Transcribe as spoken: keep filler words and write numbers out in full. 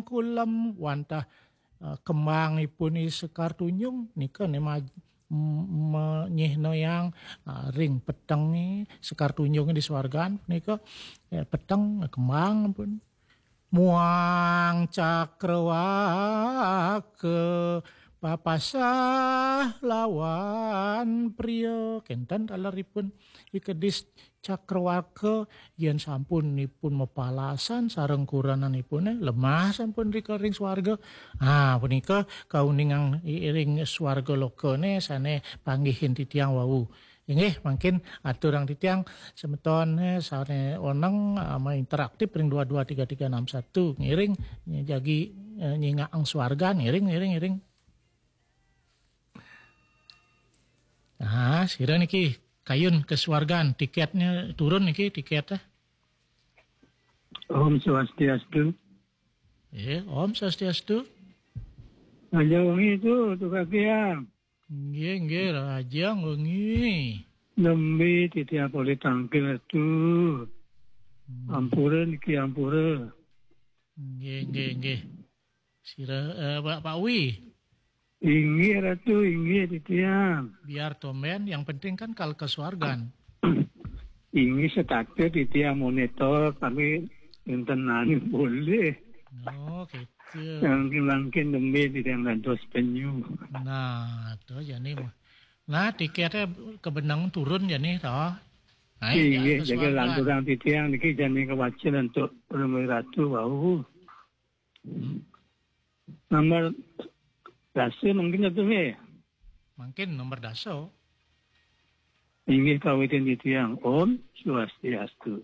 Kulem wantah eh, kembangipun I Sekar Tunjung nika ne maj- m- menyihna yang eh, ring petenge Sekar Tunjung di swargan punika eh, peteng kembang pun muang cakrawaka papasah lawan pria kenten taleripun I Kedis Cakrawaka yen sampun ipun mapalasan sareng kurenanipune lemah sampun rika ring swarga. Ah punika kauningang ring swarga lokane sane panggihin titiang wau. Inggih mangkin aturang titiang semeton eh, sane oneng ama interaktif ring dua dua tiga tiga enam satu ngiring jagi eh, nyingakang swarga ngiring ngiring ngiring. Ah, sira niki kayun ke swargan tiketnya turun niki tiket eh. Om Swastiastu. Eh, Om Swastiastu. Raja wengi tu tu kakiang. Nggih, nggih, Raja wengi. Nembe titiang polih tangkil tu. Ampura niki ampura. Nggih, nggih, nggih. Sira eh, Pak Pak Wi. Inggih Ratu, inggih titiang. Biar tomben, yang penting kan kal ke swargan. Inggih setata titiang monitor kami enten anu boleh. Oh, gitu. Mangkin mangkin nembe titiang dados penyu. Nah, to jani mah. Nah, tiketnya kebenang turun jani to. Nah, Inggih ke jaga swargan. lanturang titiang niki jani kewacen untuk Rumi Ratu wau. Nomor dasa mungkin itu nggih. Mungkin nomor dasa. Inggih kawitin titiang. Om Swastiastu.